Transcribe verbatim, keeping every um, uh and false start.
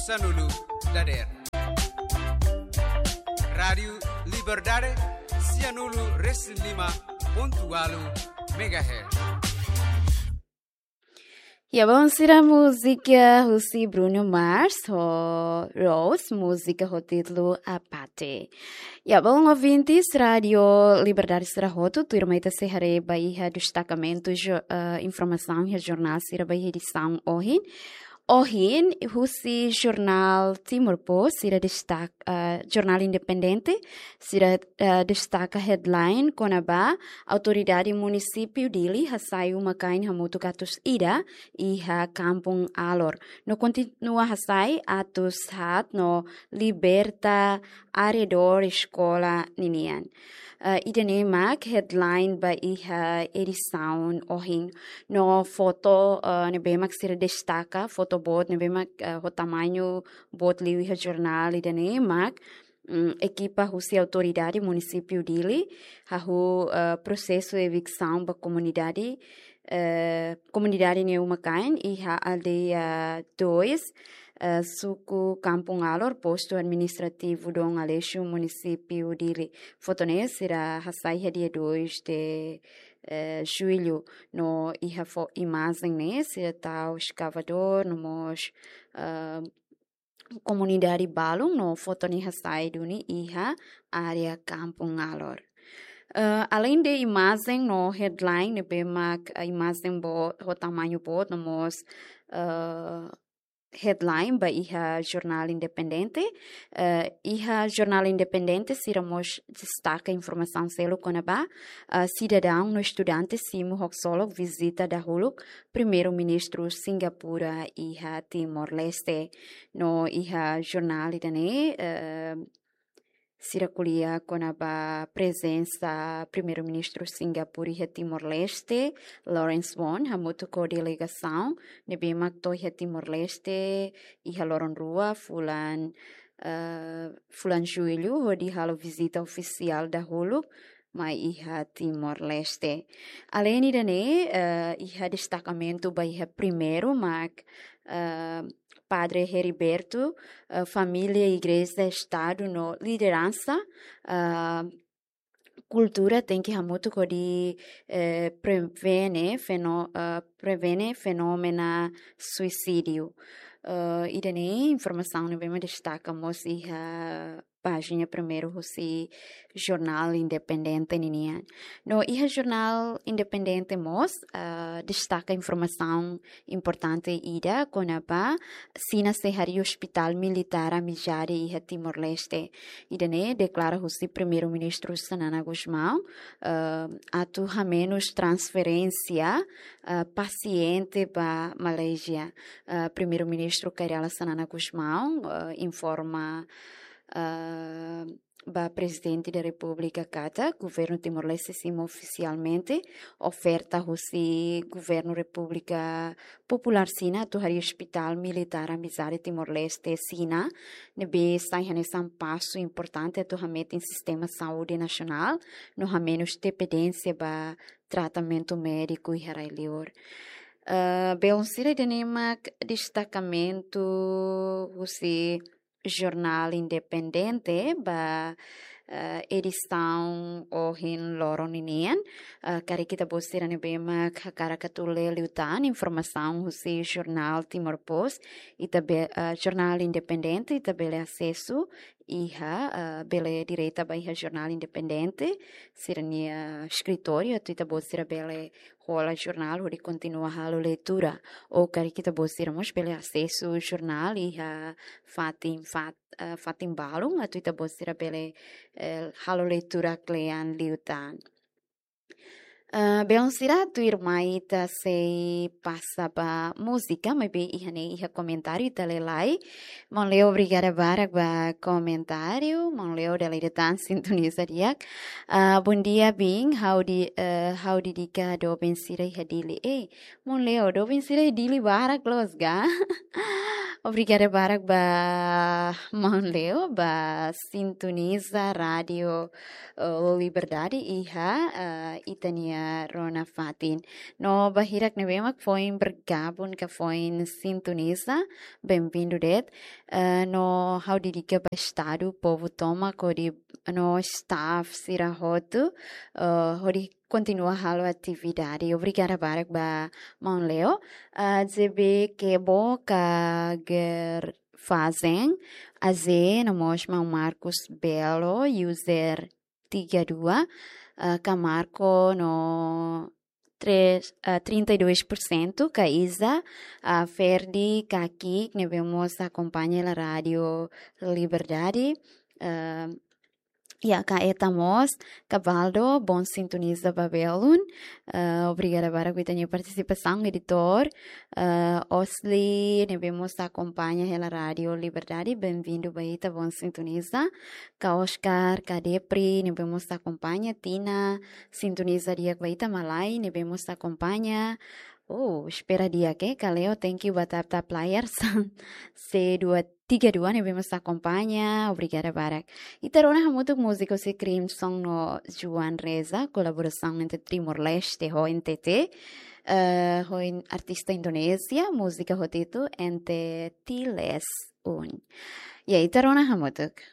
sanulu dadeer. Rádiu Liberdade, sianulu resin lima pontu ualu megahertz. Ya, bom, sira múzika husi Bruno Mars ho Rose, múzika ho títulu Apate. Ya, bom, ouvintes, Rádiu Liberdade sira hotu, tuirmai ita sei haree ba iha destakamentu jo-, eh, informasaun iha jornál sira ba iha edisaun ohin. Ohin, husi jornál Timor Post, sira destak-, eh, jornál independente, sira, eh, destaka headline kona-ba autoridade munisípiu Dili hasai uma-kain hamutuk atus ida iha Kampung Alor. No kontinua hasai atus haat no liberta arredór eskola ninian. Eh, ida-ne'e mak headline ba iha edisaun ohin. No foto, eh, ne'ebé mak sira destaka, foto boot ne'ebé mak, eh, ho tamañu boot liu iha jornál ida-ne'e mak, mm, ekipa husi autoridade munisípiu Dili hahú, eh, prosesu eviksaun ba komunidade, eh, komunidade nia uma-kain iha aldeia dois, eh, suku Kampung Alor, postu administrativu Dom Aleixo, munisípiu Dili. Foto ne'e sira hasai iha dia dois de, eh, jullu, no iha fo-, imajen ne'e sira tau eskavadór, no mós, eh, komunidade balun, no foto ne'e hasai duni iha área Kampung Alor. Eh, além de imajen no headline ne'ebé mak, eh, imajen boot, ho tamañu boot, no mós, eh, headline ba iha jornál independente, eh, iha jornál independente sira mós destaka informasaun seluk kona-ba, eh, sidadaun no estudante simu ho ksolok vizita dahuluk Primeiru-Ministru Singapura iha Timor-Leste. No iha jornál ida-ne'e, eh, sira ko'alia kona-ba prezensa Primeiru-Ministru Singapura iha Timor-Leste, Lawrence Wong, hamutuk ho delegasaun ne'ebé mak to'o iha Timor-Leste iha loron rua fulan, eh, fulan jullu, hodi halo vizita ofisiál dahuluk mai iha Timor-Leste. Além ida-ne'e, eh, iha destakamentu ba iha primeiru mak, eh, Padre Heriberto, eh, família, igreja, Estadu no lideransa, eh, kultura tenke hamutuk hodi, eh, prevene fenó-, eh, prevene fenómenu suisídiu. Eh, ida-ne'e informasaun ne'ebé mak destaka mós iha pájina primeiru husi jornál independente ninian. No iha jornál independente mós, eh, destaka informasaun importante ida kona-ba Xina sei harii ospitál militár amizade iha Timor-Leste. Ida-ne'e deklara husi Primeiru-Ministru Xanana Gusmão, eh, atu hamenus transferénsia, eh, pasiente ba Malázia. Eh, Primeiru-Ministru Kay Rala Xanana Gusmão, eh, informa, eh, ba Prezidente da Repúblika katak Governu Timor-Leste simu ofisialmente oferta husi Governu Repúblika Populár Xina atu harii ospitál militár amizade Timor-Leste Xina, ne'ebé sai hanesan pasu importante atu hametin sistema saúde nasionál, no hamenus dependénsia ba tratamentu médiku iha rai-liur. Eh, belun sira, ida-ne'e mak destakamentu husi jornál independente ba, eh, edisaun ohin loron ninian. Eh, karik ita-boot sira ne'ebé mak hakarak atu lee liután informasaun husi jornál Timor Post, ita be-, eh, jornál independente, ita bele asesu iha, eh, bele direta ba iha jornál independente sira-nia eskritóriu, atu ita-boot sira bele hola jornál hodi kontinua halo leitura. Ou karik ita-boot sira mós bele asesu jornál iha fatin, fat-, eh, fatin balun, atu ita-boot sira bele, eh, halo leitura kle'an liután. Eh, belun sira, tuirmai ita sei pasa ba múzika, maibé iha ne'e iha komentáriu ita lee lai. Maun Leo, obrigada barak ba komentáriu. Maun Leo dala ida tan sintoniza di'ak. Ah, bom dia, Bin. Ha'u de-, eh, ha'u dedika doben sira iha Dili. Eh, Maun Leo, doben sira iha Dili barak loos ka? Obrigada barak ba Maun Leo, ba sintoniza Rádiu, eh, Liberdade iha, eh, ita-nia eh, rona fatin. No ba hirak ne'ebé mak foin bergabung ka foin sintoniza, bem-vindo de'it. Eh, no ha'u dedika ba estadu, povu tomak hodi, no staff sira hotu, eh, hodi kontinua halo atividade. Obrigada barak ba maun Leo. Eh, J B Kebo ka Ger Fazen, A Z, no mós maun Marcos Belo, user tiga dua, eh, ka Marco no três, eh, trinta e dois por cento, ka Isa, eh, Ferdi, ka Kik, ne'ebé mós akompaña hela Rádio Liberdade, eh, ya, ka Eta mós, ka Baldo, bom sintoniza ba belun. Eh, obrigada barak ba ita-nia partisipasaun, editór. Eh, Osli, ne'ebé mós akompaña hela Rádio Liberdade, bem-vindo ba ita, bom sintoniza. Ka Oscar, ka Depri, ne'ebé mós akompaña, Tina, sintoniza di'ak ba ita, Malai, ne'ebé mós akompaña. Oh, espera di'ak, eh, ka Leo, thank you ba tap tap layar, C dua tiga dua, ne'ebé mós akompaña, obrigada barak. Ita rona hamutuk múzika husi Crimson no Joan Reza, kolaborasaun entre Timor-Leste ho N T T, eh, ho in-, artista Indonézia, múzika ho títulu N T T Les Un. Ya, ita rona hamutuk.